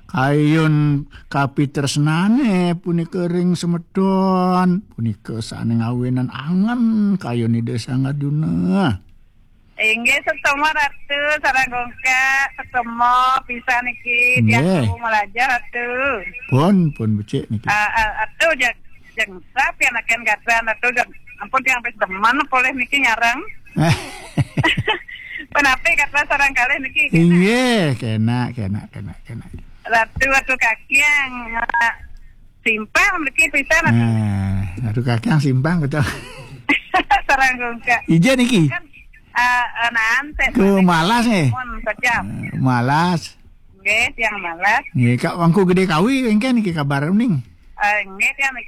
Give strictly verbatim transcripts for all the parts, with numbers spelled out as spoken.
Kayun kapitresnane punika ring semeton, punika sane ngawinan angen kayun Ida Sang Arjuna. Inggih, suksma Ratu, sareng Gungkak, suksma pisan niki, tiang Nggih. Tuhu malajah Ratu. Pun, pun becik niki. Ah, ah, Ratu, jag-, jengsa pian aken gatra Ratu, jag-, ampun tiang pis demen polih niki nyareng. Punapi gatra sareng kalih niki? Inggih, kena, kena, kena, kena. Ratu, Ratu Kakiang, ah, simpang niki pisan Ratu. Nah, Ratu Kakiang simpang betul. Sareng Gungkak. Ija niki? Kan, ah, ah, naan, Ke Malas nggih? Pun kejam. Eh, Malas. Nggih, tiang Malas. Nggih, Kak Wangku Gede Kawi, engken niki kabar uning? Eh, nggih, tiang, eh,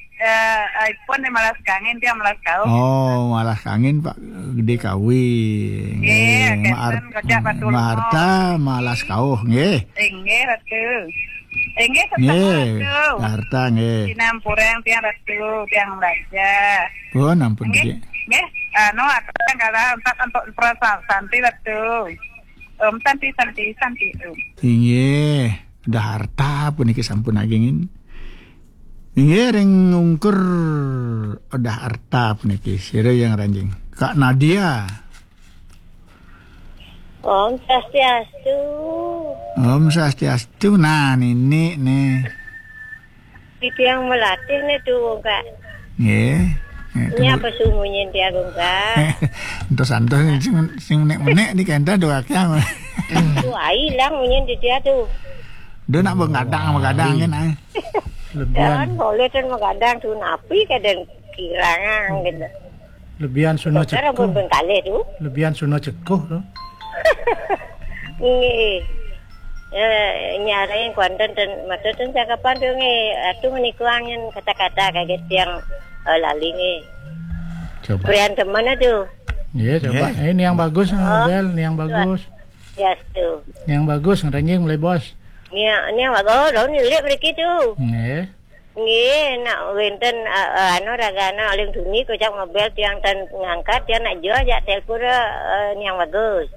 eh, ipun di Malas Kangin, tiang Malas Kauh. Oh, Malas Kangin, Pak Gede Kawi. Nggih, Nggih, kenten, Mar-, kejak Pak Tulmo. Maharta, Malas Kauh, nggih. Inggih, Ratu. Inggih, tetep Nggih, Ratu. Harta, nggih. Sinampurang tiang Ratu, tiang Raja. Pun, ampun, Nggih, Gede. Nggih. Anu, aturang kala untuk, untuk perasaan santi Ratu. Om santi, santi, santi, Om. Inggih, Dah Harta puniki sampun agingin. Inggih, ring ungkur Dah Harta puniki. Sira yang ranjing. Kak Nadia. Om Swastiastu. Om Swastiastu. Nah, nini nih. Titiang melatih nih tuh, Kak. Nggih. Nggih, Ini tunggu. Apa sih munyin tiang, Kak? Entos-entos sing, sing menek-menek di kenta do akeh. Tuh, ai ilang munyin di dia tuh. Dia nak begadang, begadang kan, ai. Lebihan. Dan boleh dan begadang tuh, napi kadang kirangan gitu. Lebihan suno Dokter ampun cekuh. Bengkalih tu. Lebihan suno cekuh tu. Nggih. Eh, nyareng kuanten ten, maksud ten cakapan tu nggih. Atu menikua ngen kata-kata kaget tiang, eh, lali nggih. Coba. Berian teman tu. Nggih, coba. Nggih. Ini yang bagus, ah, Bel, ini yang bagus. Ya, tu. Ini yang bagus, ngerenjing mulai bos. Ini yang, ini yang bagus, daun lilit beriki tu. Nggih. Nggih, nak wenten, eh, eh, anu, ragana aling tuni kocak mobile tiang tan ngangkat, tiang nak jual jak telpon, eh, niang bagus.